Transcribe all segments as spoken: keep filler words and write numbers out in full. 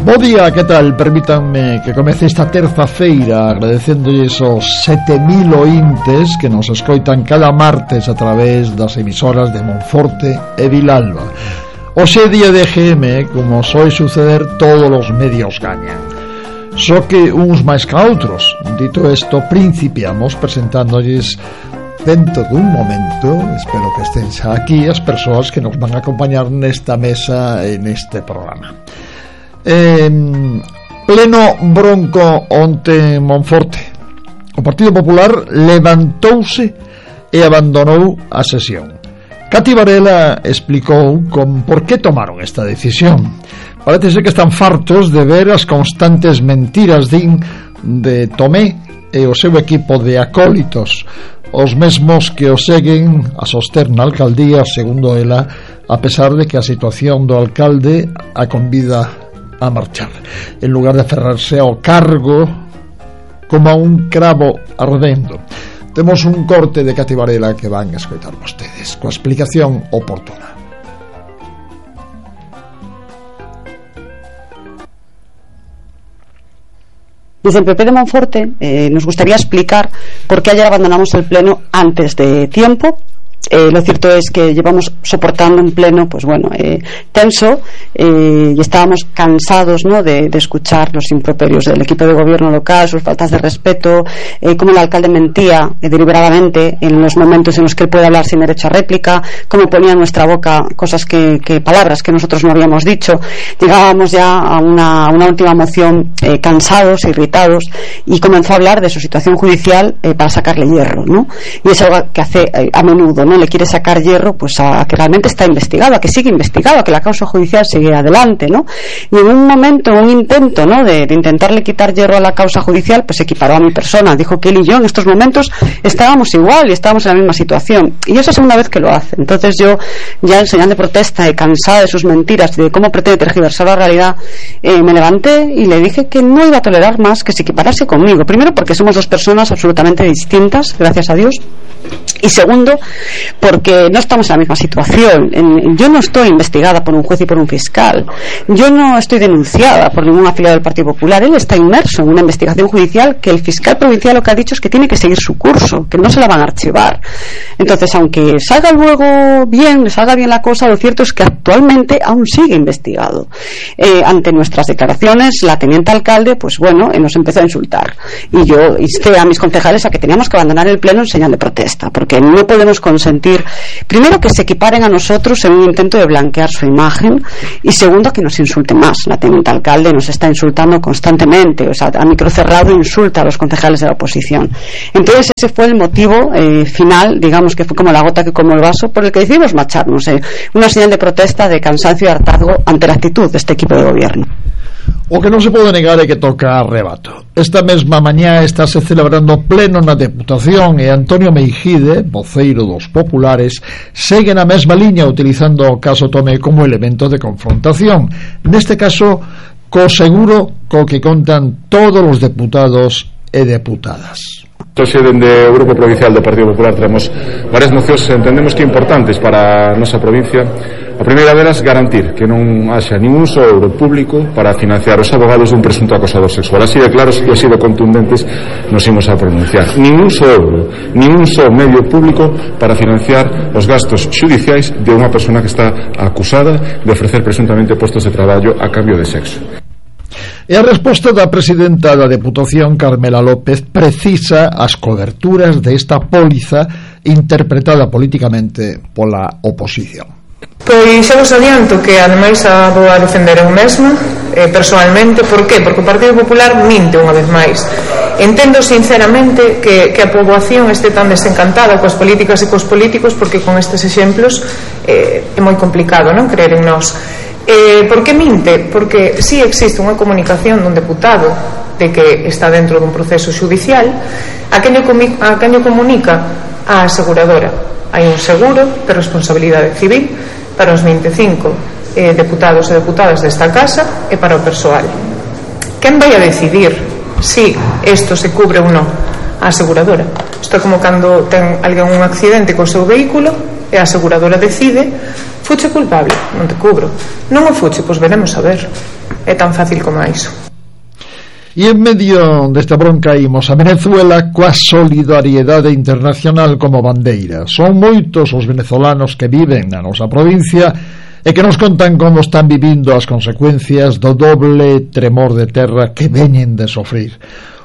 Bo día, que tal? Permítanme que comece esta terza-feira agradecéndolles os sete mil ointes que nos escoitan cada martes a través das emisoras de Monforte e Vilalba. Hoxe é día de G M, como soe suceder, todos os medios gañan. Só que uns máis que outros. Dito isto, principiamos presentándoles dentro dun momento, espero que estén xa aquí, as persoas que nos van a acompañar nesta mesa e neste programa. Eh, pleno bronco onte en Monforte. O Partido Popular levantouse e abandonou a sesión. Cati Varela explicou con por que tomaron esta decisión. Parece ser que están fartos de ver as constantes mentiras din de Tomé e o seu equipo de acólitos, os mesmos que o seguen a soster na alcaldía, segundo ela, a pesar de que a situación do alcalde a convida a marchar, en lugar de aferrarse ao cargo como a un cravo ardendo. Temos un corte de Cati Varela que van a escoitar vostedes, coa explicación oportuna. Desde el P P de Monforte eh, nos gustaría explicar por qué ayer abandonamos el pleno antes de tiempo. Eh, lo cierto es que llevamos soportando un pleno, pues bueno, eh, tenso, eh, y estábamos cansados, ¿no?, de, de escuchar los improperios del equipo de gobierno local, sus faltas de respeto, eh, cómo el alcalde mentía eh, deliberadamente en los momentos en los que él puede hablar sin derecho a réplica, cómo ponía en nuestra boca cosas que, que palabras que nosotros no habíamos dicho. Llegábamos ya a una, una última moción eh, cansados, irritados, y comenzó a hablar de su situación judicial eh, para sacarle hierro, ¿no? Y es algo que hace eh, a menudo, ¿no? Le quiere sacar hierro pues a que realmente está investigado, a que sigue investigado, a que la causa judicial sigue adelante, ¿no? Y en un momento, un intento, ¿no?, de, de intentarle quitar hierro a la causa judicial, pues se equiparó a mi persona. Dijo que él y yo en estos momentos estábamos igual y estábamos en la misma situación, y es la segunda vez que lo hace. Entonces yo, ya en señal de protesta y cansada de sus mentiras y de cómo pretende tergiversar la realidad, eh, me levanté y le dije que no iba a tolerar más que se equiparase conmigo. Primero porque somos dos personas absolutamente distintas, gracias a Dios, y segundo porque no estamos en la misma situación. Yo no estoy investigada por un juez y por un fiscal, yo no estoy denunciada por ningún afiliado del Partido Popular. Él está inmerso en una investigación judicial que el fiscal provincial lo que ha dicho es que tiene que seguir su curso, que no se la van a archivar. Entonces, aunque salga luego bien, salga bien la cosa, lo cierto es que actualmente aún sigue investigado. Eh, ante nuestras declaraciones, la teniente alcalde, pues bueno, eh, nos empezó a insultar, y yo insté a mis concejales a que teníamos que abandonar el pleno en señal de protesta, porque no podemos consentir, primero, que se equiparen a nosotros en un intento de blanquear su imagen, y segundo, que nos insulte más. La teniente alcalde nos está insultando constantemente, o sea, a micro cerrado insulta a los concejales de la oposición. Entonces ese fue el motivo eh, final, digamos que fue como la gota que colmó el vaso, por el que decidimos marcharnos, eh, una señal de protesta, de cansancio y hartazgo ante la actitud de este equipo de gobierno. O que non se pode negar é que toca arrebato. Esta mesma mañá estáse celebrando pleno na Deputación e Antonio Meijide, voceiro dos populares, segue na mesma liña utilizando o caso Tomé como elemento de confrontación. Neste caso, co seguro co que contan todos os deputados e deputadas. Hoxe, dende o Grupo Provincial do Partido Popular, temos varias mocións que entendemos que importantes para a nosa provincia. A primeira delas, garantir que non haxa ningún só euro público para financiar os abogados dun presunto acosador sexual. Así de claros e así de contundentes nos imos a pronunciar. Ningún só euro, ningún só medio público para financiar os gastos xudiciais de unha persona que está acusada de ofrecer presuntamente postos de traballo a cambio de sexo. E a resposta da presidenta da Deputación, Carmela López, precisa as coberturas desta póliza interpretada políticamente pola oposición. Pois xa vos adianto que ademais a vou a defender eu mesma eh, personalmente. Por qué? Porque o Partido Popular minte unha vez máis. Entendo sinceramente que, que a poboación este tan desencantada coas políticas e cos políticos, porque con estes exemplos eh, é moi complicado, non, creer en nós. Eh, por que minte? Porque si existe unha comunicación dun deputado de que está dentro dun proceso judicial, a quen o comunica? A aseguradora. Hai un seguro de responsabilidade civil para os vinte e cinco eh, deputados e deputadas desta casa e para o persoal. Quen vai a decidir si isto se cubre ou non? A aseguradora. Isto é como cando ten alguén un accidente co seu vehículo e a aseguradora decide Fuche culpable? Non te cubro. Non o fuche? Pois veremos a ver. É tan fácil como iso. E en medio desta bronca imos a Venezuela coa solidariedade internacional como bandeira. Son moitos os venezolanos que viven na nosa provincia e que nos contan como están vivindo as consecuencias do doble tremor de terra que veñen de sofrir.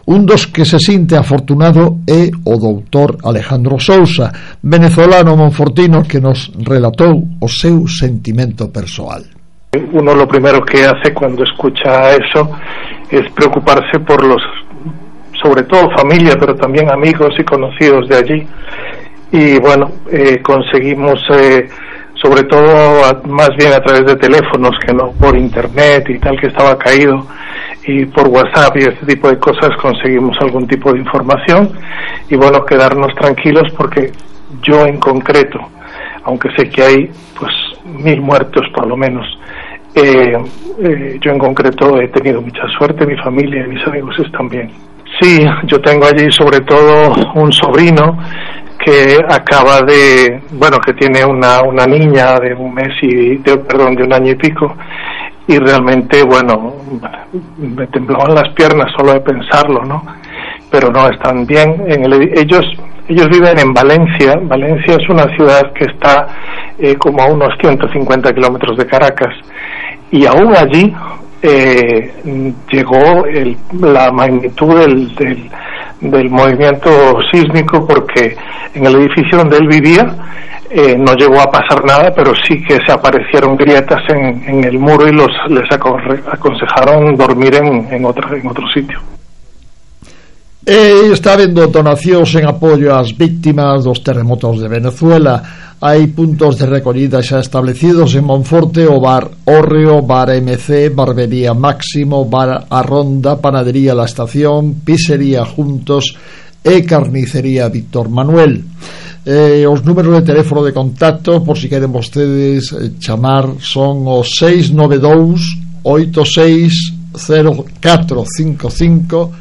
Un dos que se sinte afortunado é o doutor Alejandro Sousa, venezolano monfortino, que nos relatou o seu sentimento persoal. Uno lo primero que hace cuando escucha eso es preocuparse por los, sobre todo familia, pero también amigos y conocidos de allí. Y bueno, eh, conseguimos, eh, sobre todo a, más bien a través de teléfonos que no por internet y tal, que estaba caído, y por WhatsApp y este tipo de cosas conseguimos algún tipo de información. Y bueno, quedarnos tranquilos porque yo en concreto, aunque sé que hay pues mil muertos por lo menos, eh, eh, yo en concreto he tenido mucha suerte, mi familia y mis amigos están bien. Sí, yo tengo allí sobre todo un sobrino que acaba de, bueno, que tiene una una niña de un mes y, de, perdón, de un año y pico, y realmente, bueno, me temblaban las piernas solo de pensarlo, ¿no? Pero no, están bien. En el, ellos ellos viven en Valencia. Valencia es una ciudad que está eh, como a unos ciento cincuenta kilómetros de Caracas, y aún allí eh, llegó el, la magnitud del, del, del movimiento sísmico, porque en el edificio donde él vivía eh, no llegó a pasar nada, pero sí que se aparecieron grietas en, en el muro y los les aconsejaron dormir en, en, otro, en otro sitio. E está habendo donacións en apoio ás víctimas dos terremotos de Venezuela. Hai puntos de recollida xa establecidos en Monforte: o Bar Hórreo, Bar M C, Barbería Máximo, Bar A Ronda, Panadería La Estación, Pizzería Juntos e Carnicería Víctor Manuel. Eh, os números de teléfono de contacto, por si queren vostedes eh, chamar, son o seis nove dous oito seis cero catro cinco cinco,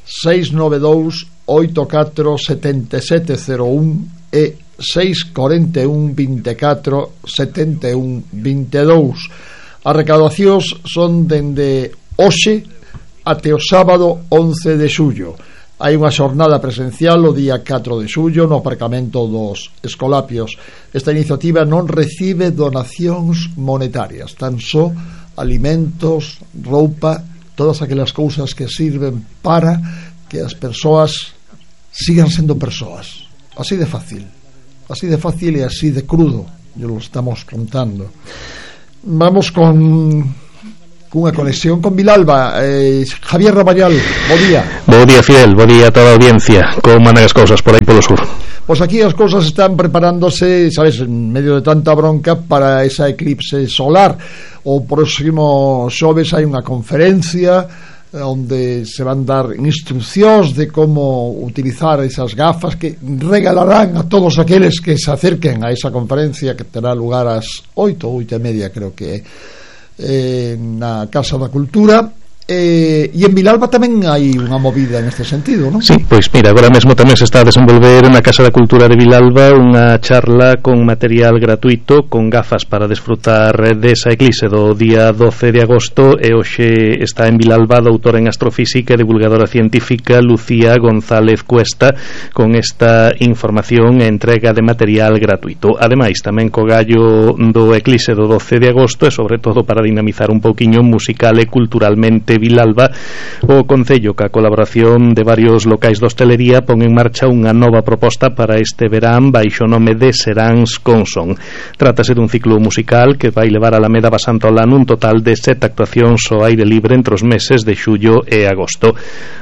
seis nove dous oito catro sete sete cero un e seis cuatro un veinticuatro setenta y uno veintidós. As recaudacións son dende hoxe até o sábado once de xullo. Hai unha xornada presencial o día catro de xullo no aparcamento dos Escolapios. Esta iniciativa non recibe donacións monetarias, tan só alimentos, roupa, todas aquelas cousas que sirven para que as persoas sigan sendo persoas. Así de fácil, así de fácil e así de crudo, yo lo estamos contando. Vamos con cunha conexión con Vilalba. eh, Javier Raballal, bo día. Bo día, Fidel, bo día a toda a audiencia. Como mandan as cousas por aí polo sur? Pois aquí as cousas están preparándose, sabes, en medio de tanta bronca, para esa eclipse solar. O próximo xoves hai unha conferencia onde se van dar instruccións de como utilizar esas gafas que regalarán a todos aqueles que se acerquen a esa conferencia, que terá lugar ás oito, oito e media creo que é, eh, na Casa da Cultura. Eh, e en Vilalba tamén hai unha movida neste sentido, non? Sí, pois mira, agora mesmo tamén se está a desenvolver na Casa da Cultura de Vilalba unha charla con material gratuito, con gafas para desfrutar desa eclipse do día doce de agosto. E hoxe está en Vilalba a doutora en astrofísica e divulgadora científica Lucía González Cuesta con esta información e entrega de material gratuito. Ademais, tamén co gallo do eclipse do doce de agosto, e sobre todo para dinamizar un pouquiño musical e culturalmente Vilalba, o Concello, ca colaboración de varios locais de hostelería, pon en marcha unha nova proposta para este verán baixo o nome de Seráns con Son. Trátase dun ciclo musical que vai levar a Alameda Basantolán un total de sete actuacións ao aire libre entre os meses de xullo e agosto.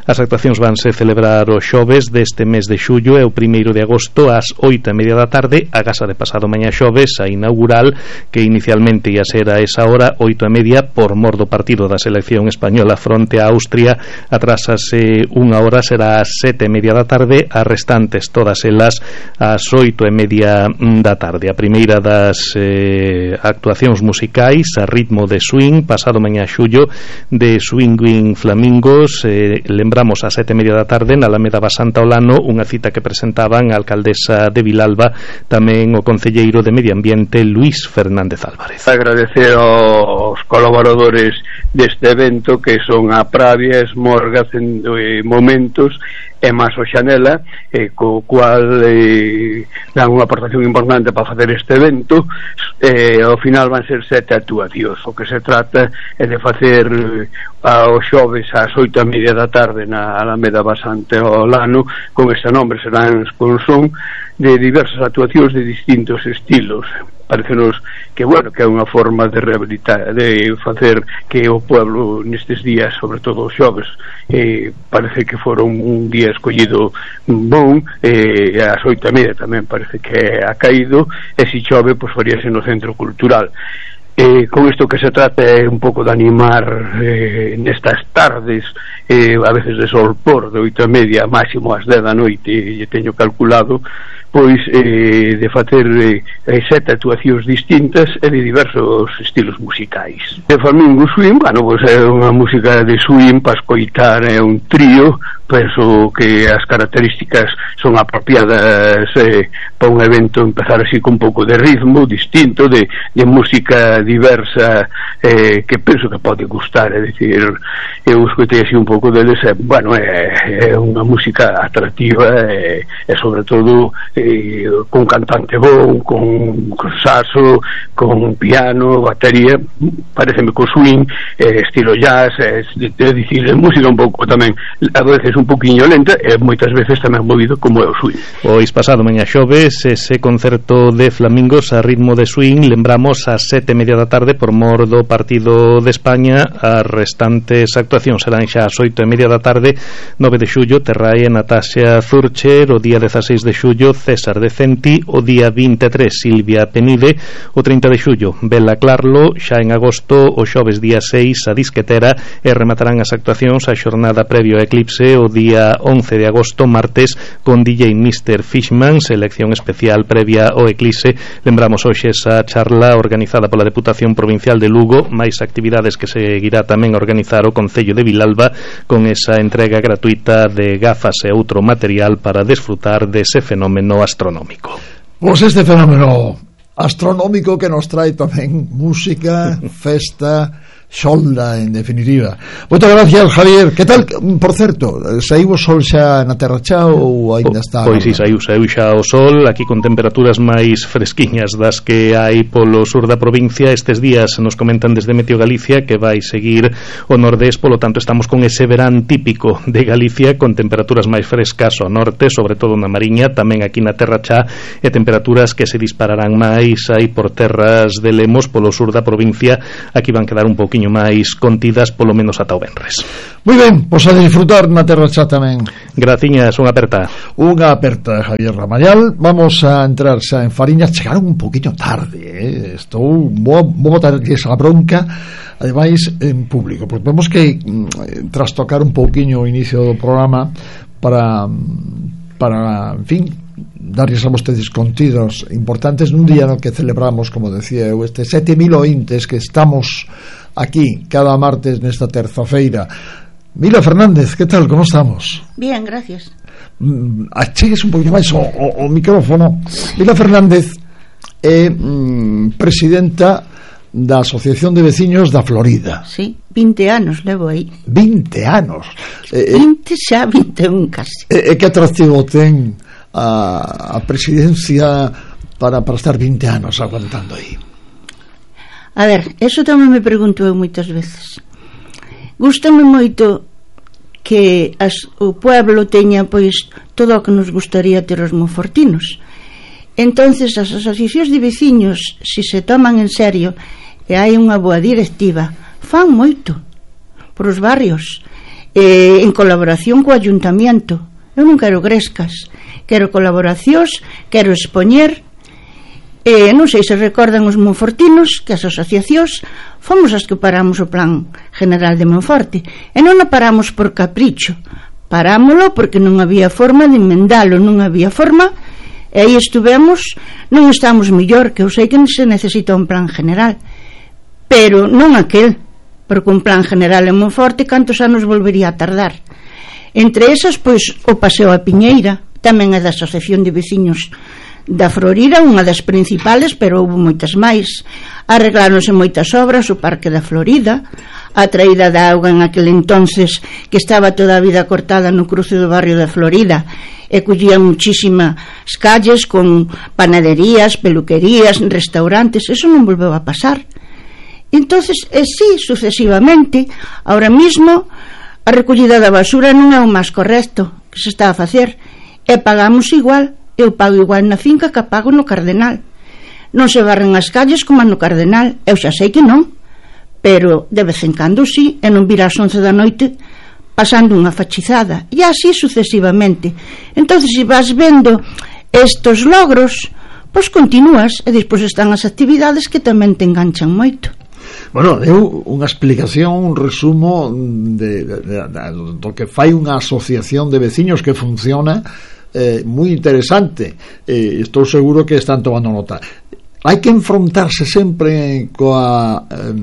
As actuacións vanse celebrar o xoves deste mes de xullo e o primeiro de agosto ás oito e media da tarde, a gasa de pasado mañá xoves, a inaugural, que inicialmente ia ser a esa hora, oito e media, por mor do partido da selección española española fronte a Austria atrásase unha hora, será ás sete e media da tarde, as restantes todas elas ás oito e media da tarde. A primeira das eh, actuacións musicais a ritmo de swing, pasado mañá xullo, de Swinging Flamingos, eh, lembramos ás sete e media da tarde na Alameda Basanta Olano, unha cita que presentaban a alcaldesa de Vilalba, tamén o concelleiro de Medio Ambiente Luís Fernández Álvarez. Agradecer aos colaboradores deste evento, que son a Pravia, Esmorga, eh, Momentos e máis o Xanela, eh, co cual eh, dan unha aportación importante para facer este evento. Eh, ao final van ser sete actuacións. O que se trata é de facer eh, aos xoves ás oito e media da tarde na Alameda Basante Olano, con este nombre, serán con son de diversas actuacións de distintos estilos. Parecenos que, bueno, que é unha forma de rehabilitar, de facer que o pueblo nestes días, sobre todo os xoves, eh, parece que foron un día escollido bon, eh, ás oito e media tamén parece que ha caído, e se chove, pois faríase no Centro Cultural. Eh, con isto que se trata é un pouco de animar eh, nestas tardes, eh, a veces de sol por de oito e media máximo ás dez da noite, e teño calculado pois eh, de facer eh, sete actuacións distintas e de diversos estilos musicais. De Flamingo Swing, bueno, pois é unha música de swing para escoitar, é un trío, penso que as características son apropiadas eh, para un evento empezar así con un pouco de ritmo distinto, de, de música diversa, eh, que penso que pode gustar, é dicir, eu escoitei así un pouco deles, e, bueno, é, é unha música atractiva e, e sobre todo eh, con cantante bon, con, con saxo, con piano, batería, pareceme co swing, eh, estilo jazz, é, é dicir, é música un pouco tamén, a veces un poquinho lenta e moitas veces tamén movido como é o swing. Pois pasado mañá xoves ese concerto de Flamingos a ritmo de swing, lembramos ás sete e media da tarde por mor do partido de España. As restantes actuacións serán xa ás oito e media da tarde. Nove de xullo Terrae Natasha Zurcher, o día dezaseis de xullo César Decenti, o día vinte e tres Silvia Penide, o trinta de xullo Bela Clarlo, xa en agosto o xoves día seis a Disquetera, e rematarán as actuacións a xornada previo a Eclipse o día once de agosto martes con D J mister Fishman, selección especial previa ao Eclipse. Lembramos hoxe esa charla organizada pola Deputación Provincial de Lugo, máis actividades que seguirá tamén a organizar o Concello de Vilalba con esa entrega gratuita de gafas e outro material para desfrutar dese fenómeno astronómico. Pois este fenómeno astronómico que nos trae tamén música, festa, xolda, en definitiva. Moitas gracias, Javier. Que tal, por certo, saiu o sol xa na Terra Chá ou aínda está? Pois si, saiu, saiu xa o sol, aquí con temperaturas máis fresquiñas das que hai polo sur da provincia. Estes días nos comentan desde Meteo Galicia que vai seguir o nordés, polo tanto estamos con ese verán típico de Galicia, con temperaturas máis frescas ao norte, sobre todo na Mariña, tamén aquí na Terra Chá, e temperaturas que se dispararán máis aí por terras de Lemos, polo sur da provincia. Aquí van quedar un pouquiño máis contidas, polo menos ata o venres. Moi ben, pois a disfrutar na Terra Chá tamén. Graciñas, unha aperta. Unha aperta, Javier Ramayal. Vamos a entrar xa en Fariñas. Chegaron un poquinho tarde, eh? Estou vou, vou botarles a bronca, ademais en público, porque temos que mm, trastocar un pouquiño o inicio do programa para, para en fin, darles a vostedes contidos importantes nun día no que celebramos, como decía eu, este sete mil ointes que estamos aquí cada martes nesta terza-feira. Mila Fernández, que tal, como estamos? Bien, gracias. Mm, achegues un poquinho máis o, o, o micrófono. Mila Fernández é mm, presidenta da Asociación de Veciños da Florida. Sí, vinte anos levo aí. vinte anos. Eh, vinte xa, vinte e un casi. E eh, que atractivo ten a, a presidencia para, para estar vinte anos aguantando aí? A ver, eso tamén me pregunto eu moitas veces. Gústame moito que as, o pueblo teña pois todo o que nos gustaría ter os monfortinos. Entonces as asociacións de veciños, se se toman en serio e hai unha boa directiva, fan moito por os barrios, eh, en colaboración co ayuntamiento. Eu non quero grescas, quero colaboracións, quero expoñer E non sei se recordan os monfortinos que as asociacións fomos as que paramos o Plan General de Monforte, e non o paramos por capricho, parámolo porque non había forma de emendalo, non había forma, e aí estuvemos. Non estamos mellor, que eu sei que se necesita un plan general, pero non aquel, porque un plan general en Monforte cantos anos volvería a tardar. Entre esas, pois, o Paseo a Piñeira, tamén é da Asociación de Veciños da Florida, unha das principales, pero houve moitas máis. Arregláronse moitas obras, o Parque da Florida, a traída da auga en aquel entonces, que estaba toda a vida cortada no cruce do barrio da Florida, e collían muchísimas calles con panaderías, peluquerías, restaurantes. Eso non volveu a pasar. Entonces, e sí, sucesivamente, ahora mismo a recollida da basura non é o máis correcto que se está a facer, e pagamos igual. Eu pago igual na finca que pago no Cardenal. Non se barren as calles como no Cardenal, eu xa sei que non, pero de vez en cando sí, e non vir ás once da noite pasando unha fachizada, e así sucesivamente. Entonces, se vas vendo estos logros, pois continúas, e despois están as actividades que tamén te enganchan moito. Bueno, eu unha explicación, un resumo de, de, de, de, do que fai unha asociación de veciños que funciona eh, moi interesante. Eh, estou seguro que están tomando nota. Hai que enfrontarse sempre coa eh,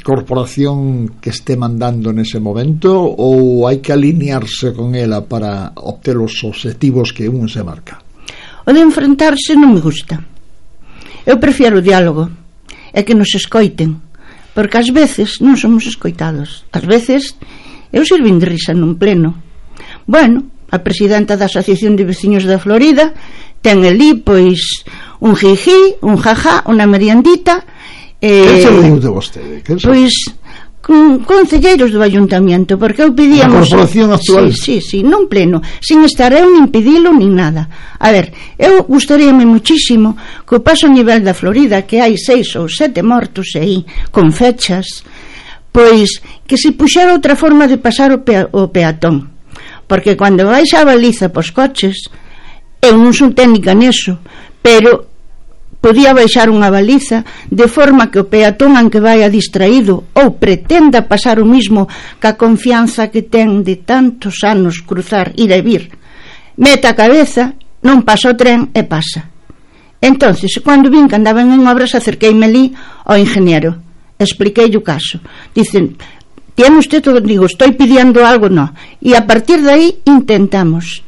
corporación que este mandando nese momento, ou hai que alinearse con ela para obter os objetivos que un se marca? O de enfrentarse non me gusta. Eu prefiero o diálogo, é que nos escoiten, porque ás veces non somos escoitados. Ás veces eu sirvin de risa nun pleno. Bueno, a presidenta da Asociación de Veciños da Florida ten ali, pois, un jiji, un jajá, unha meriendita. Eh, que se diu de vostede? Pois, con concelleiros do Ayuntamiento, porque eu pedíamos... A corporación actual? Sí, sí, sí, non pleno, sin estar eu nin pedilo nin nada. A ver, eu gustaríame muchísimo que o paso a nivel da Florida, que hai seis ou sete mortos aí, con fechas, pois, que se puxera outra forma de pasar o, pea, o peatón. Porque cando vais a baliza pos coches, eu non son técnica neso, pero podía baixar unha baliza de forma que o peatón, aunque vai distraído ou pretenda pasar o mismo ca confianza que ten de tantos anos cruzar, ir e vir, meta a cabeza, non pasa o tren e pasa. Entonces, cando vin que andaban en obras, acerqueime ali ao ingeniero, expliquei o caso. Dicen, tiene usted todo, digo, estoy pidiendo algo, no, e a partir de aí intentamos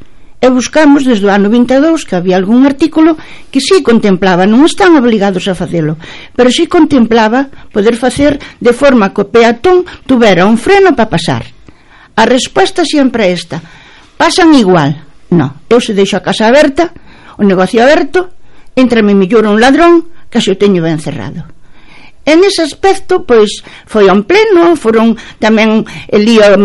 e buscamos desde o ano vinte e dous que había algún artículo que sí contemplaba, non están obligados a facelo, pero sí contemplaba poder facer de forma que o peatón tuvera un freno para pasar. A resposta sempre é esta: pasan igual. No, eu se deixo a casa aberta, o negocio aberto, entrame mellor un ladrón que se o teño ben cerrado. En ese aspecto, pois, foi a un pleno, foron tamén el lío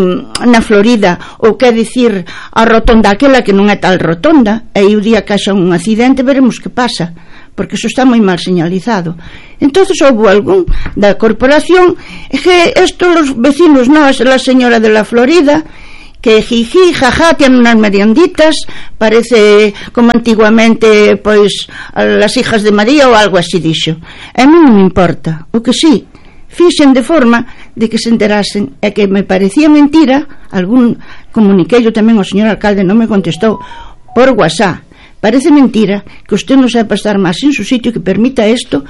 na Florida, ou que dicir a rotonda aquela que non é tal rotonda, e o día que haxa un accidente veremos que pasa, porque eso está moi mal señalizado. Entonces houve algún da corporación que estos los vecinos, no, es la señora de la Florida, que jiji, jaja, tienen unas merienditas, parece como antiguamente, pois, las hijas de María ou algo así dixo. A mí non me importa, o que sí, fixen de forma de que se enterasen, e que me parecía mentira, algún comuniqueillo tamén ao señor alcalde, non me contestou, por WhatsApp, parece mentira que usted non sepa estar máis en su sitio, que permita esto,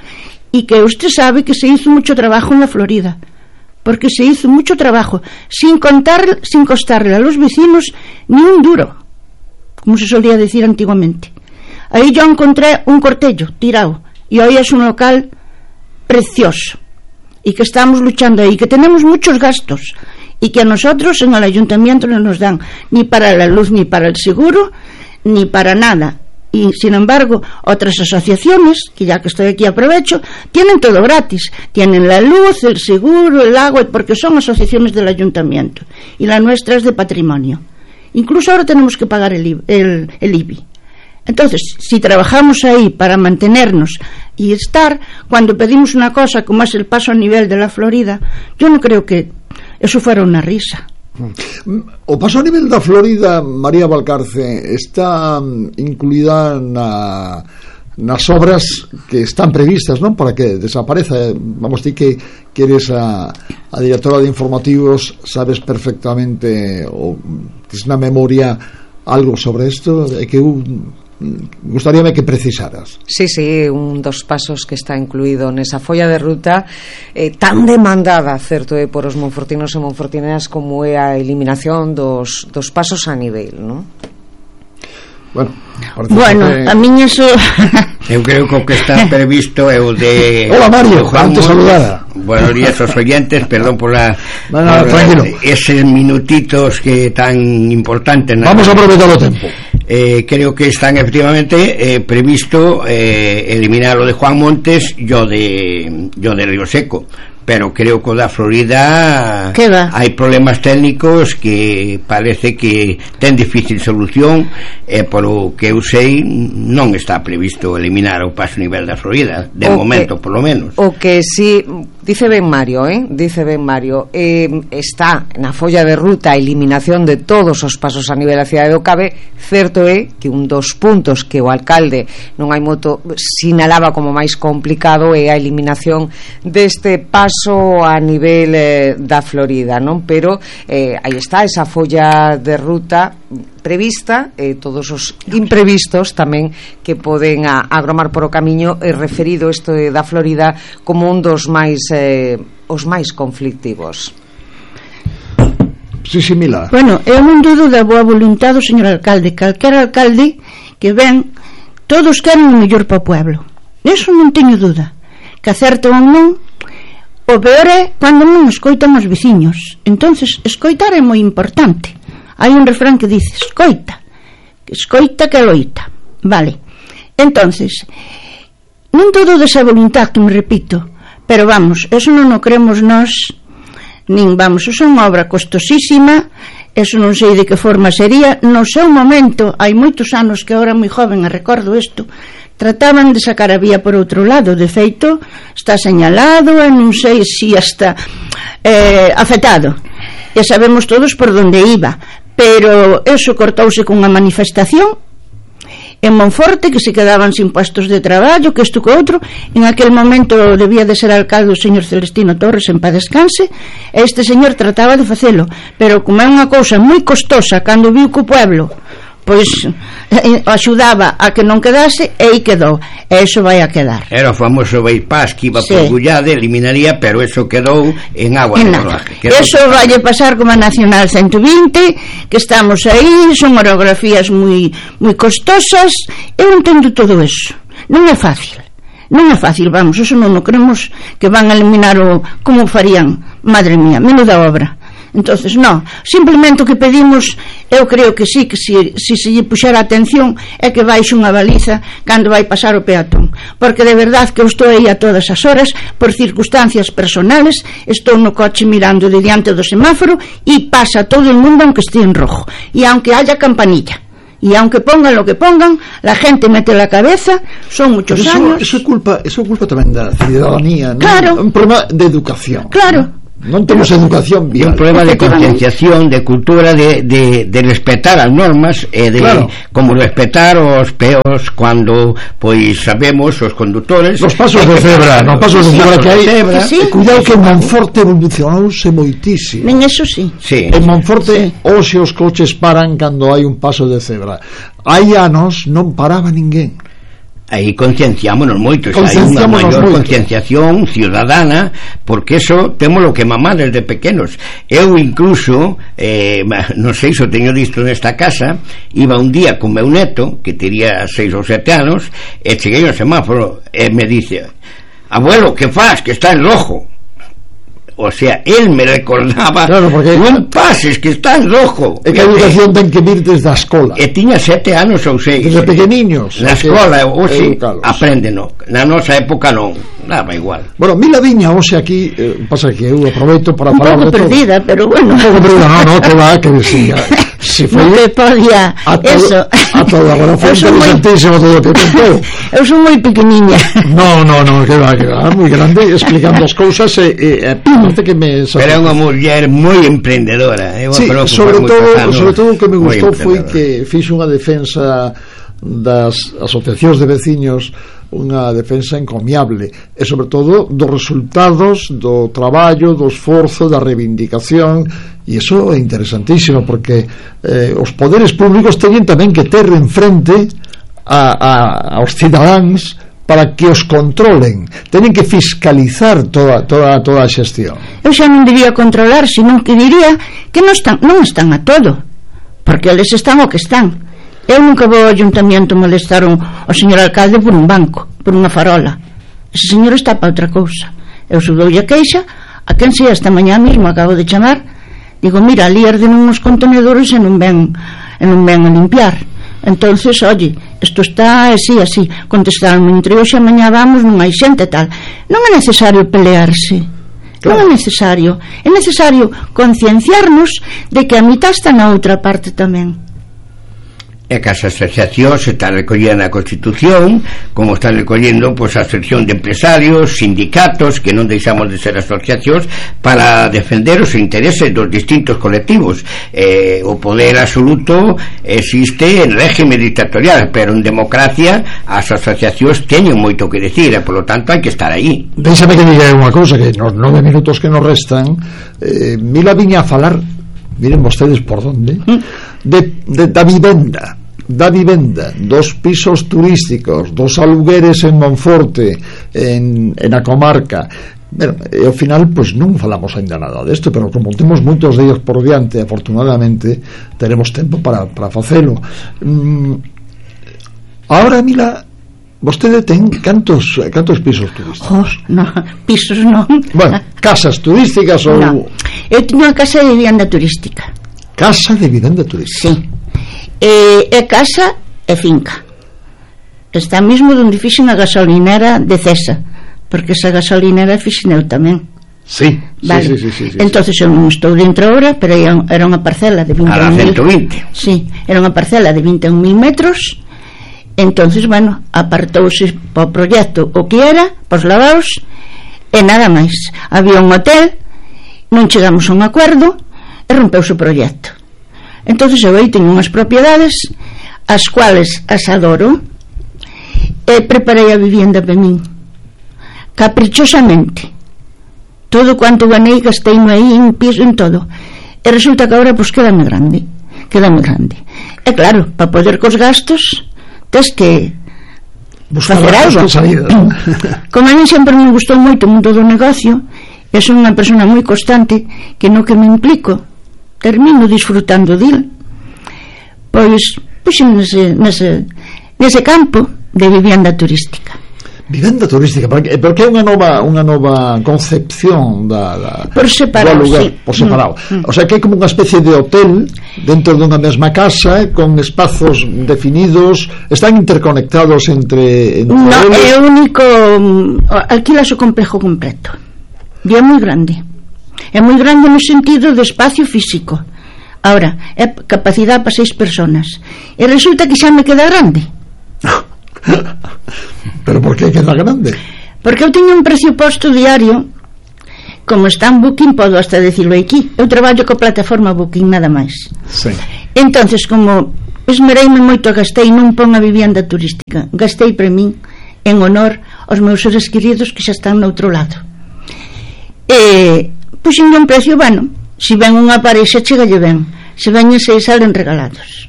e que usted sabe que se hizo mucho trabajo en la Florida, porque se hizo mucho trabajo sin contar, sin costarle a los vecinos ni un duro, como se solía decir antiguamente. Ahí yo encontré un cortello tirado, y hoy es un local precioso, y que estamos luchando ahí, que tenemos muchos gastos, y que a nosotros en el ayuntamiento no nos dan ni para la luz, ni para el seguro, ni para nada. Y sin embargo otras asociaciones, que ya que estoy aquí aprovecho, tienen todo gratis, tienen la luz, el seguro, el agua, porque son asociaciones del ayuntamiento, y la nuestra es de patrimonio. Incluso ahora tenemos que pagar el, el, el I B I. Entonces, si trabajamos ahí para mantenernos y estar, cuando pedimos una cosa como es el paso a nivel de la Florida, yo no creo que eso fuera una risa. O paso a nivel da Florida, María Valcarce, está incluída na nas obras que están previstas, non, para que desapareza. Vamos, ti que, que eres a, a directora de informativos, sabes perfectamente, ou tes na memoria algo sobre isto, é que eu gustaríame que precisaras. Sí, sí, un dos pasos que está incluído nesa folla de ruta eh, tan demandada, certo, é por os monfortinos e monfortineras, como é a eliminación dos, dos pasos a nivel, non? Bueno, bueno que... a miña so... eu creo que o que está previsto é o de... Hola Mario, antes saludada. Buenos días aos oyentes, perdón por la no, no, por tranquilo. Eses minutitos que tan importantes. Vamos a aprovechar o tempo. Eh, creo que están efectivamente eh, previsto eh, eliminar o de Juan Montes e o de, yo de Río Seco, pero creo que o da Florida hai problemas técnicos que parece que ten difícil solución, e eh, por o que eu sei non está previsto eliminar o paso nivel da Florida de o momento, que, por lo menos. O que si dice ben Mario, eh? dice ben Mario eh, está na folla de ruta a eliminación de todos os pasos a nivel da cidade do Cabe. Certo é que un dos puntos que o alcalde non hai moto sinalaba como máis complicado é a eliminación deste paso a nivel eh, da Florida, non? Pero eh, aí está esa folla de ruta prevista, e eh, todos os imprevistos tamén que poden a, agromar por o camiño, e referido isto da Florida como un dos máis eh, os máis conflictivos. Sí, sí, Mila. Bueno, eu non dudo da boa voluntade do señor alcalde. Calquera alcalde que ven, todos queren o mellor para o pueblo, eso non teño duda. Que acerto ou non, o peor é cando non escoitan os veciños. Entonces, escoitar é moi importante. Hai un refrán que dice: escoita, escoita que loita. Vale. Entonces, non todo desa voluntad que me repito, pero vamos, eso non o creemos nós, nin vamos, eso é unha obra costosísima, eso non sei de que forma sería. No seu momento, hai moitos anos, que agora moi joven, e recordo isto, trataban de sacar a vía por outro lado. De feito, está señalado, e non sei se hasta eh, afectado, e sabemos todos por donde iba, pero eso cortouse cunha manifestación en Monforte, que se quedaban sin puestos de traballo, que isto que outro. En aquel momento debía de ser alcalde o señor Celestino Torres, en paz descanse, e este señor trataba de facelo, pero como é unha cousa moi costosa, cando viu que o pueblo pois eh, axudaba a que non quedase, e aí quedou, e eso vai a quedar. Era o famoso bypass que iba sí. por Gullade, eliminaría, pero eso quedou en agua de rodaje. Eso vai a pasar como a Nacional ciento vinte, que estamos aí, son orografías moi moi costosas. Eu entendo todo eso, non é fácil, non é fácil, vamos, eso non o creemos que van a eliminar o como farían, madre mía, menuda obra. Entonces, no, simplemente o que pedimos, eu creo que sí, que si, si se lle puxera atención, é que baixe unha baliza cando vai pasar o peatón, porque de verdad que eu estou aí a todas as horas, por circunstancias personales, estou no coche mirando de diante do semáforo, e pasa todo el mundo aunque esté en rojo, e aunque haya campanilla, y aunque pongan lo que pongan, la gente mete la cabeza. Son muchos eso, años. Eso é culpa, eso é culpa tamén da ciudadanía, ¿no? Claro. Un problema de educación. Claro. Non temos educación vial. Un problema de concienciación, de cultura, de, de, de respetar as normas, e de claro. como respetar os peos cando pois sabemos os conductores los pasos de cebra, nos pasos de cebra que hai, que sí. Cuidado que en Monforte evolucionouse moitísimo. En eso sí. sí. En Monforte sí. Hoxe os coches paran cando hai un paso de cebra. Hai anos non paraba ninguén. Aí concienciámonos moito, hai unha maior concienciación ciudadana, porque eso temos lo que mamar desde pequenos. Eu incluso eh, non sei se o teño disto nesta casa, iba un día con meu neto que tería seis ou sete anos, e cheguei ao semáforo e me dice: abuelo, que faz? Que está en rojo. O sea, él me recordaba, claro, porque non pases que está en rojo. É que a educación ten que vir desde a escola. E tiña sete anos ou seis. Desde pequeniños. Na escola, hoxe aprenden, no. Na nosa época non, nada igual. Bueno, Mila viña hoxe aquí, eh, pasa que eu aproveito para un falar pouco perdida, pero bueno. Un pouco perdida, no, no, que va, que decía. Si foi non te podía, a todo, eso. A todo, agora foi interesantísimo todo o que contou. Eu son moi pequeniña. No, no, no, que va, que va, moi grande, explicando as cousas, e, e, e que me pero é unha muller moi emprendedora. Eu sí, sobre todo, pasado, sobre todo o que me gustou foi que fixo unha defensa das asociacións de veciños unha defensa encomiable e sobre todo dos resultados do traballo, do esforzo, da reivindicación, e iso é interesantísimo porque eh, os poderes públicos teñen tamén que ter en frente a, a, aos cidadáns para que os controlen, teñen que fiscalizar toda, toda, toda a xestión. Eu xa non diría controlar, senón que diría que non están, non están a todo, porque eles están o que están. Eu nunca vou ao ayuntamiento molestar un, o señor alcalde por un banco, por unha farola. Ese señor está para outra cousa. Eu subdoulle a queixa, a quen sei, esta mañá mesmo acabo de chamar, digo, mira, ali arden uns contenedores e non ven, e non ven a limpiar. Entonces, oye, isto está así, así. Contestaron entre hoxe e mañá vamos, non hai xente tal. Non é necesario pelearse. Non é necesario. É necesario concienciarnos de que a mitad está na outra parte tamén. É que as asociacións están recollendo na Constitución, como están recollendo pois, a asociación de empresarios, sindicatos, que non deixamos de ser asociacións, para defender os intereses dos distintos colectivos. Eh, o poder absoluto existe en régimen dictatorial, pero en democracia as asociacións teñen moito que decir, e polo tanto hai que estar aí. Déxame que diga unha cousa, que nos nove minutos que nos restan, eh, Mila viña a falar, miren vostedes por donde, de, de da vivenda da vivenda, dos pisos turísticos, dos alugueres en Monforte, en, en a comarca. Bueno, e ao final pois non falamos ainda nada desto, pero como temos moitos deles por diante, afortunadamente teremos tempo para, para facelo. mm, Ahora, Mila, vostede ten cantos, cantos pisos turísticos? Oh, no, pisos non. Bueno, casas turísticas ou... No. Eu teño unha casa de vivenda turística. Casa de vivenda turística? Sí. É, é casa e finca. Está mesmo onde fixen a gasolinera de Cesa, porque esa gasolinera fixen eu tamén. Sí, vale. sí, sí, sí, sí, sí. Entonces eu non estou dentro agora, pero era unha parcela de vinte e un mil. A ciento vinte. Sí, era unha parcela de vinte e un mil metros. Entonces, bueno, apartouse para o proxecto o que era, pos lavados e nada máis. Había un hotel, non chegamos a un acordo e rompeuse o proxecto. Entonces eu aí teño unhas propiedades as cuales as adoro e preparei a vivienda para min caprichosamente, todo cuanto ganei gasteime aí en piso, en todo, e resulta que agora pois quedame grande quedame grande e claro, para poder cos gastos tes que buscar facer algo. Como a mí sempre me gustou moito o mundo do negocio, eu son unha persona moi constante, que no que me implico termino disfrutando dil. Pois puxen nese, nese, nese campo de vivenda turística. Vivenda turística, porque, porque é unha nova unha nova concepción da, da por separado, lugar, sí. Por separado. Mm, mm. O sea, que é como unha especie de hotel dentro dunha mesma casa, con espazos definidos, están interconectados entre, entre no, eles. é o único, alquilas o complejo completo. E é moi grande. É moi grande no sentido de espacio físico. Ahora, é capacidade para seis personas. E resulta que xa me queda grande. Pero por que queda grande? Porque eu teño un precio posto diario. Como está en Booking, podo hasta decirlo aquí. Eu traballo co plataforma Booking, nada máis. Sí. Entonces, como esmereime moito, gastei, non pon a vivienda turística, gastei para min en honor aos meus seres queridos que xa están no outro lado. E puxen un precio, bueno, se ven unha parexa chegalle ben, se veñen seis salen regalados.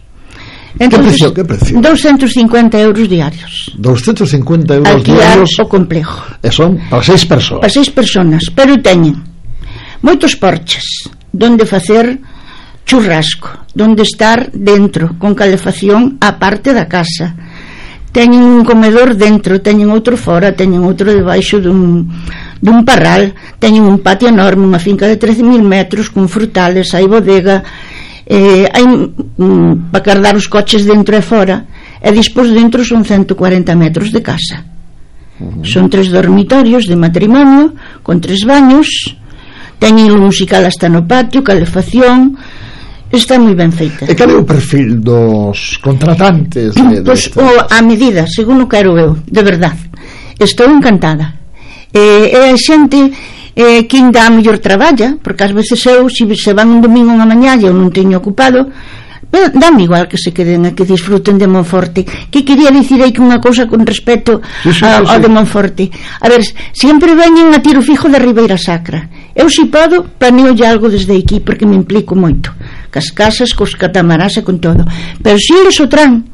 Entonces, que precio, que precio? doscientos cincuenta euros diarios. doscientos cincuenta euros alquilar diarios o complejo. E son para seis persoas. Para seis personas, pero teñen moitos porches donde facer churrasco, donde estar dentro con calefacción á parte da casa. Teñen un comedor dentro, teñen outro fora, teñen outro debaixo dun, dun parral, teñen un patio enorme, unha finca de trece mil metros con frutales, hai bodega, eh, hai mm, para cardar os coches dentro e fora, e dispós dentro son ciento cuarenta metros de casa. Uh-huh. Son tres dormitorios de matrimonio con tres baños, teñen o musical hasta no patio, calefacción. Está moi ben feita. E cal é o perfil dos contratantes? De, Pois pues, o, a medida, según o quero eu, de verdade. Estou encantada. E, e a xente eh, que ainda a mellor traballa, porque ás veces eu, se, se van un domingo unha mañá e eu non teño ocupado, Pero dame igual que se queden a que disfruten de Monforte. Que quería dicir aí que unha cousa con respecto sí, sí, a, sí, sí. ao de Monforte. A ver, sempre veñen a tiro fijo da Ribeira Sacra. Eu, se podo, planeo ya algo desde aquí, porque me implico moito. Cas casas, cos catamarás e con todo. Pero se eles o tran,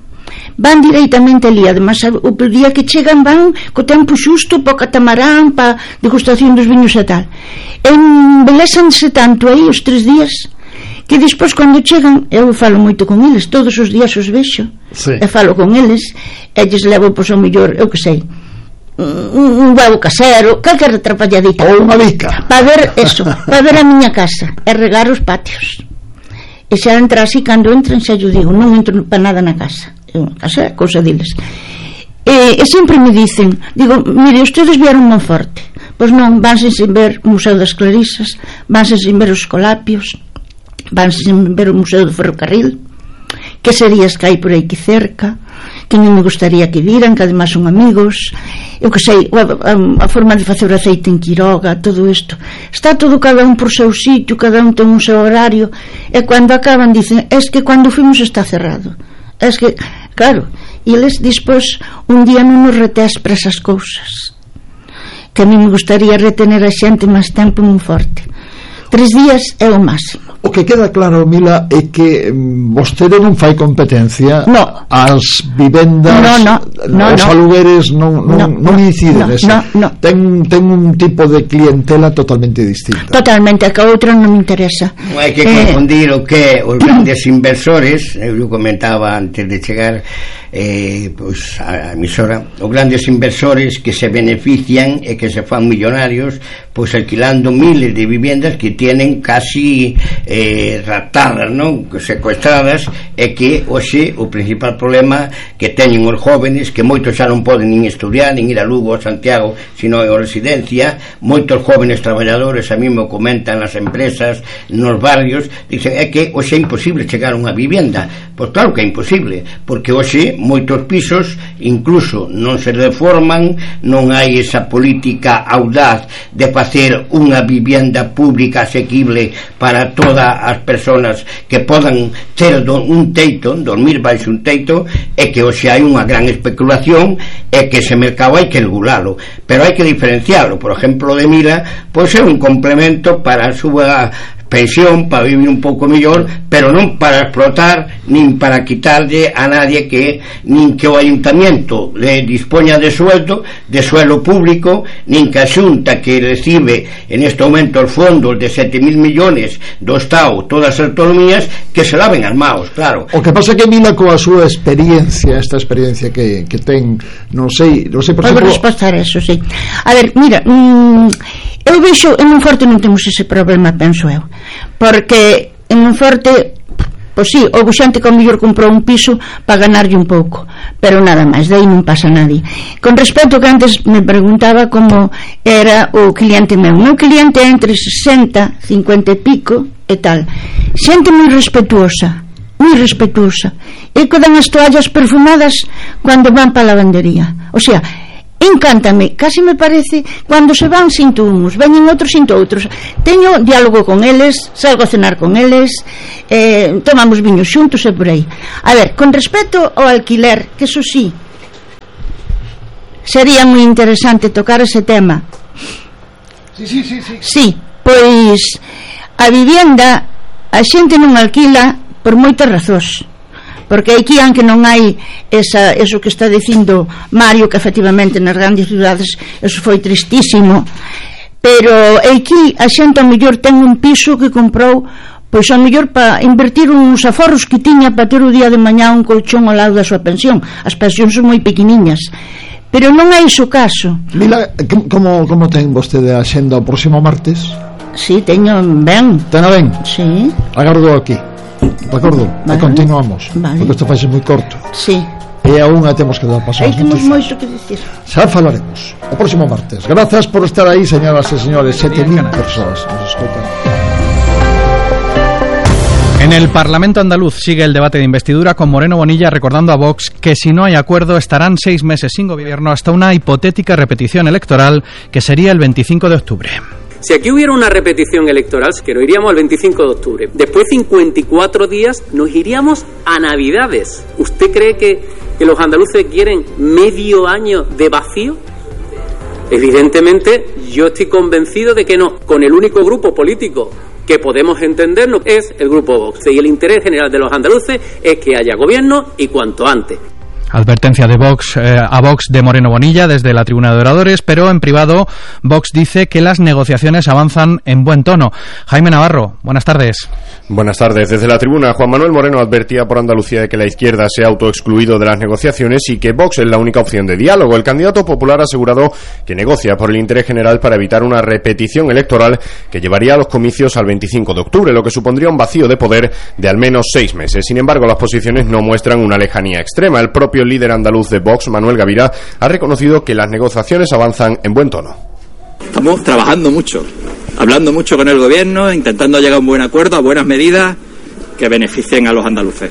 van directamente ali. Además, o día que chegan van co tempo xusto para o catamarán, para degustación dos viños e tal. Embelesanse tanto aí os tres días que despois cando chegan, eu falo moito con eles, todos os días os vexo, sí. E falo con eles, e lles levo, pois, ao mellor, eu que sei, un, un huevo casero, calquer atrapalladita, ou unha bica, para ver eso, para ver a miña casa e regar os patios. E xa entra así, cando entran xa yo digo, non entro para nada na casa, a casa é cousa deles. E, e sempre me dicen, digo, mire, ustedes vieron Monforte, pois non, vanse sin ver o Museo das Clarisas, vanse sin ver os Escolapios, vanse sin ver o Museo do Ferrocarril, que serías que hai por aí que cerca, que non me gustaría que viran, que además son amigos, eu que sei, a, a, a forma de facer o aceite en Quiroga, todo isto, está todo cada un por seu sitio, cada un ten un seu horario, e cando acaban dicen, es que cando fuimos está cerrado, es que, claro, e eles despois un día non nos retés para esas cousas, que a mí me gustaría retener a xente máis tempo moi forte. Tres días é o máximo. O que queda claro, Mila, é que vostede non fai competencia no. ás vivendas, no, no, no, os no. alugueres non, non, no, non inciden no, esa. No, no. Ten, ten un tipo de clientela totalmente distinta. Totalmente, a que a outra non me interesa. Non hai que confundir eh, o que os grandes inversores, eu comentaba antes de chegar eh, pues, a emisora, os grandes inversores que se benefician e que se fan millonarios pues alquilando miles de viviendas que tienen casi eh, raptadas, non? Secuestradas, e que hoxe o principal problema que teñen os jóvenes, que moitos xa non poden nin estudiar, nin ir a Lugo ou Santiago, sino en residencia, moitos jóvenes traballadores a mí me comentan nas empresas, nos barrios, dicen, é que hoxe é imposible chegar a unha vivienda. Pois claro que é imposible, porque hoxe moitos pisos incluso non se reforman, non hai esa política audaz de facer unha vivienda pública asequible para todas as persoas que podan ter un teito, dormir baixo un teito, e que hoxe hai unha gran especulación e que ese mercado hai que regulalo, pero hai que diferenciarlo. Por exemplo, de Mila, pois é un complemento para a súa pensión, para vivir un pouco mellor, pero non para explotar nin para quitarlle a nadie, que nin que o ayuntamiento le dispoña de sueldo, de suelo público, nin que a Xunta, que recibe en este momento os fondos de sete mil millones do Estado, todas as autonomías, que se laven as maos, claro. O que pasa que Mila, coa súa experiencia, esta experiencia que, que ten, non sei, non sei, por exemplo, responder eso, sí. A ver, mira, mmm, eu vexo, en Monforte non temos ese problema, penso eu, porque en Monforte, pois sí, houve xente que ao mellor comprou un piso para ganarlle un pouco, pero nada máis, de aí non pasa nadie. Con respecto que antes me preguntaba como era o cliente meu, meu cliente é entre sesenta, cincuenta e pico e tal, xente moi respetuosa, moi respetuosa, e que dan as toallas perfumadas cando van para a lavandería, o sea, encántame, casi me parece cando se van sinto uns, veñen outros sinto outros, teño diálogo con eles, salgo a cenar con eles, eh, tomamos viños xuntos e por aí. A ver, con respecto ao alquiler, que eso sí sería moi interesante tocar ese tema. Sí, sí, sí, sí. Sí, pois a vivienda a xente non alquila por moitas razóns, porque aquí, aunque non hai esa, eso que está dicindo Mario, que efectivamente nas grandes ciudades eso foi tristísimo, pero aquí a xente ao mellor ten un piso que comprou pois ao mellor para invertir uns aforros que tiña para ter o día de mañá un colchón ao lado da súa pensión. As pensións son moi pequeniñas, pero non é iso o caso. Mila, como, como ten vostede a xenda o próximo martes? Si, sí, teño ben. Tena ben? Si. Sí. Agardo aquí. De acordo, vale. E continuamos, vale. Porque isto faixe moi corto. Sí. E a unha temos que dar paso. Aí temos moito que dicir. Xa falaremos o próximo martes. Grazas por estar aí, señoras e señores. Sete mil persoas nos escoitan. En el Parlamento andaluz sigue el debate de investidura, con Moreno Bonilla recordando a Vox que si no hay acuerdo estarán seis meses sin gobierno hasta una hipotética repetición electoral que sería el veinticinco de octubre. Si aquí hubiera una repetición electoral, que nos iríamos al veinticinco de octubre, después de cincuenta y cuatro días nos iríamos a Navidades. ¿Usted cree que, que los andaluces quieren medio año de vacío? Evidentemente, yo estoy convencido de que no. Con el único grupo político que podemos entendernos es el grupo Vox. Y el interés general de los andaluces es que haya gobierno y cuanto antes. Advertencia de Vox eh, a Vox de Moreno Bonilla desde la tribuna de oradores, pero en privado Vox dice que las negociaciones avanzan en buen tono. Jaime Navarro, buenas tardes. Buenas tardes. Desde la tribuna, Juan Manuel Moreno advertía por Andalucía de que la izquierda se ha autoexcluido de las negociaciones y que Vox es la única opción de diálogo. El candidato popular ha asegurado que negocia por el interés general para evitar una repetición electoral que llevaría a los comicios al veinticinco de octubre, lo que supondría un vacío de poder de al menos seis meses. Sin embargo, las posiciones no muestran una lejanía extrema. El propio El líder andaluz de Vox, Manuel Gavira, ha reconocido que las negociaciones avanzan en buen tono. Estamos trabajando mucho, hablando mucho con el gobierno, intentando llegar a un buen acuerdo, a buenas medidas que beneficien a los andaluces.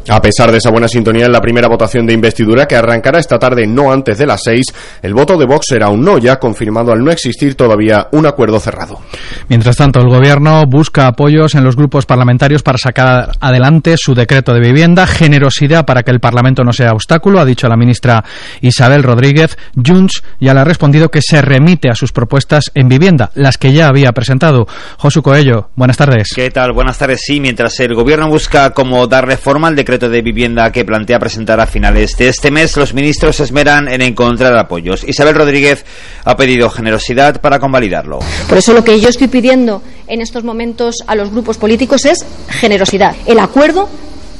A pesar de esa buena sintonía en la primera votación de investidura, que arrancará esta tarde no antes de las seis, el voto de Vox será un no, ya confirmado al no existir todavía un acuerdo cerrado. Mientras tanto, el Gobierno busca apoyos en los grupos parlamentarios para sacar adelante su decreto de vivienda. Generosidad para que el Parlamento no sea obstáculo, ha dicho la ministra Isabel Rodríguez. Junts ya le ha respondido que se remite a sus propuestas en vivienda, las que ya había presentado. Josu Coello, buenas tardes. ¿Qué tal? Buenas tardes. Sí, mientras el Gobierno busca cómo darle forma al decreto de vivienda que plantea presentar a finales de este mes, los ministros se esmeran en encontrar apoyos. Isabel Rodríguez ha pedido generosidad para convalidarlo. Por eso lo que yo estoy pidiendo en estos momentos a los grupos políticos es generosidad. El acuerdo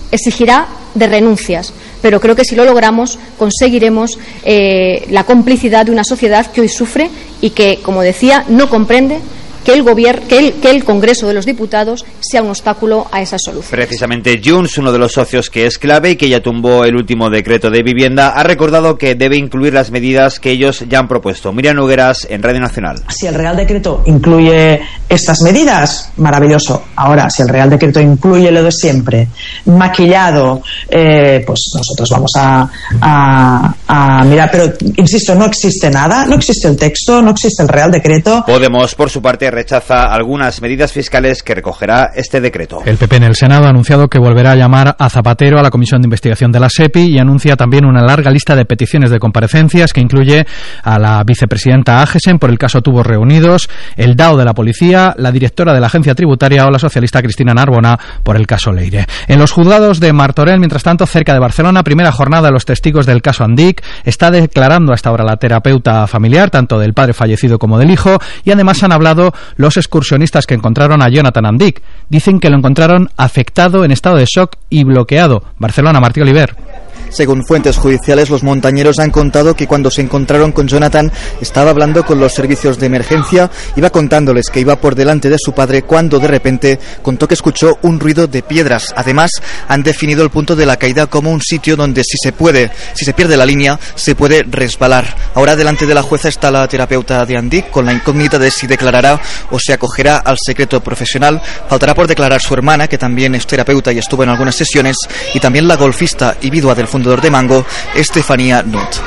exigirá de renuncias, pero creo que si lo logramos conseguiremos eh, la complicidad de una sociedad que hoy sufre y que, como decía, no comprende que el gobierno, que el, que el Congreso de los Diputados sea un obstáculo a esa solución. Precisamente Junts, uno de los socios que es clave y que ya tumbó el último decreto de vivienda, ha recordado que debe incluir las medidas que ellos ya han propuesto. Miriam Nogueras, en Radio Nacional. Si el Real Decreto incluye estas medidas, maravilloso. Ahora, si el Real Decreto incluye lo de siempre, maquillado, eh, pues nosotros vamos a, a, a mirar. Pero, insisto, no existe nada, no existe el texto, no existe el Real Decreto. Podemos, por su parte, rechaza algunas medidas fiscales que recogerá este decreto. El P P en el Senado ha anunciado que volverá a llamar a Zapatero a la Comisión de Investigación de la SEPI y anuncia también una larga lista de peticiones de comparecencias que incluye a la vicepresidenta Agesen por el caso Tubos Reunidos, el D A O de la Policía, la directora de la Agencia Tributaria o la socialista Cristina Narbona por el caso Leire. En los juzgados de Martorell, mientras tanto, cerca de Barcelona, primera jornada de los testigos del caso Andic, está declarando hasta ahora la terapeuta familiar, tanto del padre fallecido como del hijo, y además han hablado los excursionistas que encontraron a Jonathan Andic. Dicen que lo encontraron afectado, en estado de shock y bloqueado. Barcelona, Martí Oliver. Según fuentes judiciales, los montañeros han contado que cuando se encontraron con Jonathan estaba hablando con los servicios de emergencia, iba contándoles que iba por delante de su padre cuando de repente contó que escuchó un ruido de piedras. Además, han definido el punto de la caída como un sitio donde si se puede, si se pierde la línea, se puede resbalar. Ahora delante de la jueza está la terapeuta de Andic con la incógnita de si declarará o se acogerá al secreto profesional. Faltará por declarar su hermana, que también es terapeuta y estuvo en algunas sesiones, y también la golfista y viuda del fundador de Mango, Estefanía Nutt.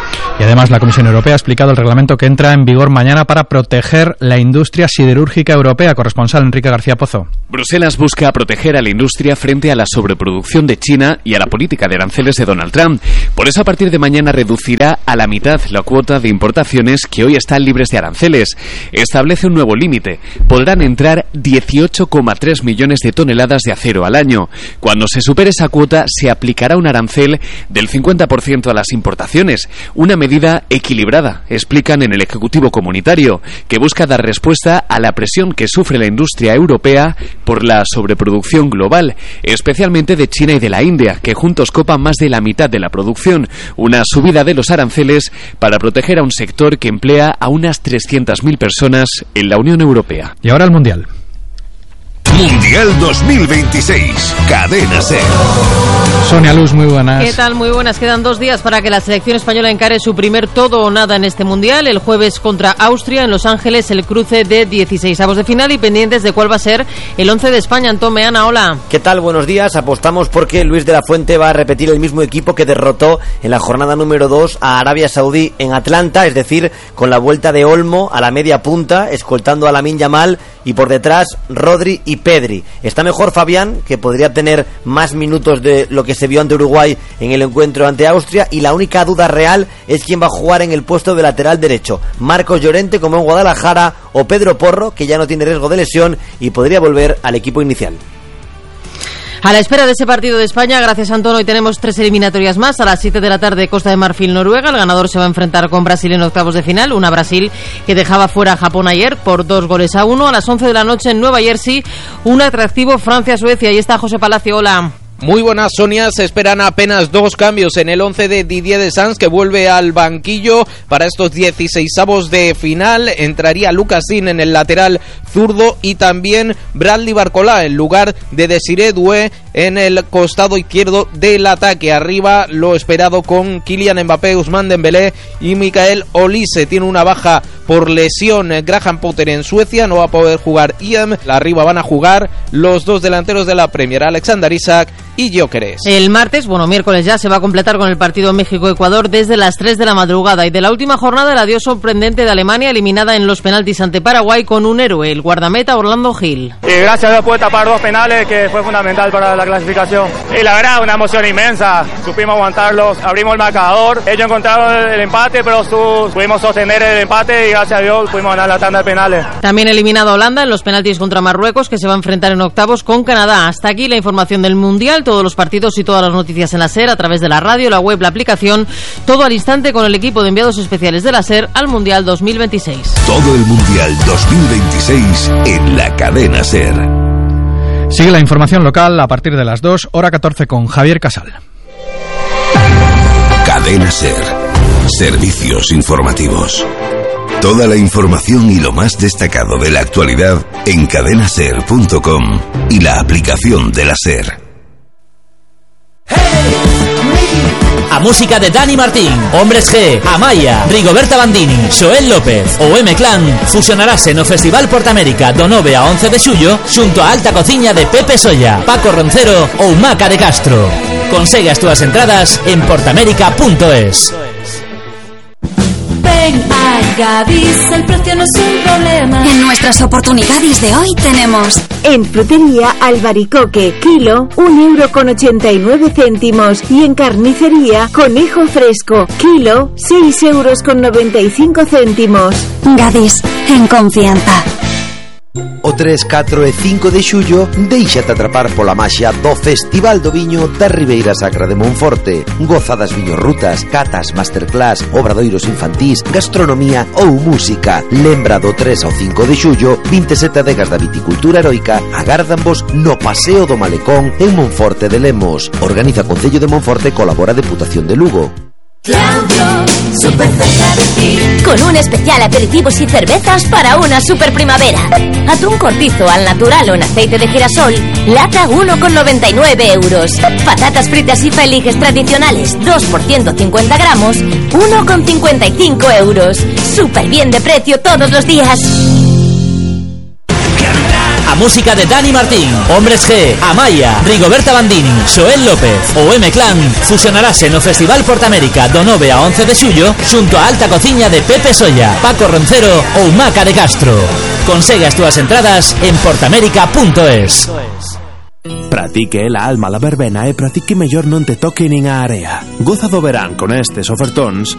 Y además la Comisión Europea ha explicado el reglamento que entra en vigor mañana para proteger la industria siderúrgica europea. Corresponsal Enrique García Pozo. Bruselas busca proteger a la industria frente a la sobreproducción de China y a la política de aranceles de Donald Trump. Por eso, a partir de mañana reducirá a la mitad la cuota de importaciones que hoy están libres de aranceles. Establece un nuevo límite. Podrán entrar dieciocho coma tres millones de toneladas de acero al año. Cuando se supere esa cuota, se aplicará un arancel del cincuenta por ciento a las importaciones. Una medida equilibrada, explican en el Ejecutivo Comunitario, que busca dar respuesta a la presión que sufre la industria europea por la sobreproducción global, especialmente de China y de la India, que juntos copan más de la mitad de la producción. Una subida de los aranceles para proteger a un sector que emplea a unas trescientas mil personas en la Unión Europea. Y ahora el Mundial. Mundial. Mundial dos mil veintiséis. Cadena SER. Sonia Luz, muy buenas. ¿Qué tal? Muy buenas. Quedan dos días para que la selección española encare su primer todo o nada en este Mundial. El jueves contra Austria en Los Ángeles, el cruce de dieciseisavos de final y pendientes de cuál va a ser el once de España. Antón Meana, hola. ¿Qué tal? Buenos días. Apostamos porque Luis de la Fuente va a repetir el mismo equipo que derrotó en la jornada número dos a Arabia Saudí en Atlanta, es decir, con la vuelta de Olmo a la media punta, escoltando a Lamine Yamal y por detrás Rodri y Pedri. Está mejor Fabián, que podría tener más minutos de lo que se vio ante Uruguay en el encuentro ante Austria, y la única duda real es quién va a jugar en el puesto de lateral derecho, Marcos Llorente como en Guadalajara o Pedro Porro, que ya no tiene riesgo de lesión y podría volver al equipo inicial. A la espera de ese partido de España, gracias Antón, hoy tenemos tres eliminatorias más. A las siete de la tarde, Costa de Marfil, Noruega. El ganador se va a enfrentar con Brasil en octavos de final. Una Brasil que dejaba fuera a Japón ayer por dos goles a uno. A las once de la noche en Nueva Jersey, un atractivo Francia-Suecia. Ahí está José Palacio, hola. Muy buenas, Sonia. Se esperan apenas dos cambios en el once de Didier Deschamps, que vuelve al banquillo para estos dieciseisavos de final. Entraría Lucas Digne en el lateral zurdo y también Bradley Barcola en lugar de Desiré Doué en el costado izquierdo del ataque. Arriba lo esperado con Kylian Mbappé, Ousmane Dembélé y Michael Olise. Tiene una baja por lesión Graham Potter en Suecia, no va a poder jugar Ian. Arriba van a jugar los dos delanteros de la Premier, Alexander Isak y Gyökeres. El martes, bueno, miércoles ya, se va a completar con el partido México-Ecuador desde las tres de la madrugada. Y de la última jornada, el adiós sorprendente de Alemania, eliminada en los penaltis ante Paraguay con un héroe, el guardameta Orlando Gil. Y gracias a Dios pude tapar dos penales, que fue fundamental para la clasificación. Y la verdad, una emoción inmensa. Supimos aguantarlos, abrimos el marcador. Ellos encontraron el empate, pero su, pudimos sostener el empate y gracias a Dios pudimos ganar la tanda de penales. También eliminado a Holanda en los penaltis contra Marruecos, que se va a enfrentar en octavos con Canadá. Hasta aquí la información del Mundial. Todos los partidos y todas las noticias en la SER, a través de la radio, la web, la aplicación, todo al instante con el equipo de enviados especiales de la SER al Mundial dos mil veintiséis. Todo el Mundial dos mil veintiséis en la cadena SER. Sigue la información local a partir de las dos, hora catorce con Javier Casal. Cadena SER. Servicios informativos. Toda la información y lo más destacado de la actualidad en cadena ser punto com y la aplicación de la SER. A música de Dani Martín, Hombres G, Amaya, Rigoberta Bandini, Xoel López ou M-Clan fusionarase no Festival Portamérica do nove a once de xullo xunto a alta cociña de Pepe Solla, Paco Roncero ou Maca de Castro. Consegue as túas entradas en portamérica punto es. Ven a Gadis, el precio no es un problema. En nuestras oportunidades de hoy tenemos en frutería albaricoque, kilo, un euro con ochenta y nueve céntimos, y en carnicería conejo fresco, kilo, seis euros con noventa y cinco céntimos. Gadis, en confianza. O tres, catro e cinco de xullo déixate atrapar pola maxia do Festival do Viño da Ribeira Sacra de Monforte. Goza das viñorrutas, catas, masterclass, obradoiros infantís, gastronomía ou música. Lembra do tres ao cinco de xullo, vinte e sete adegas da viticultura heroica agárdanvos no Paseo do Malecón en Monforte de Lemos. Organiza Concello de Monforte, colabora Deputación de Lugo. Claudio, super cerca de ti, con un especial aperitivos y cervezas para una super primavera. Atún cortizo al natural o en aceite de girasol, lata uno con noventa y nueve euros. Patatas fritas y feliges tradicionales, dos por ciento cincuenta gramos, uno con cincuenta y cinco euros. Súper bien de precio todos los días. A música de Dani Martín, Hombres G, Amaya, Rigoberta Bandini, Xoel López ou M-Clan fusionarase no Festival Portamérica do nove a once de xullo xunto a alta cociña de Pepe Solla, Paco Roncero ou Maca de Castro. Consegue as túas entradas en portamérica punto es. Pratique la alma la verbena e pratique mellor non te toque nin a area. Goza do verán con estes ofertóns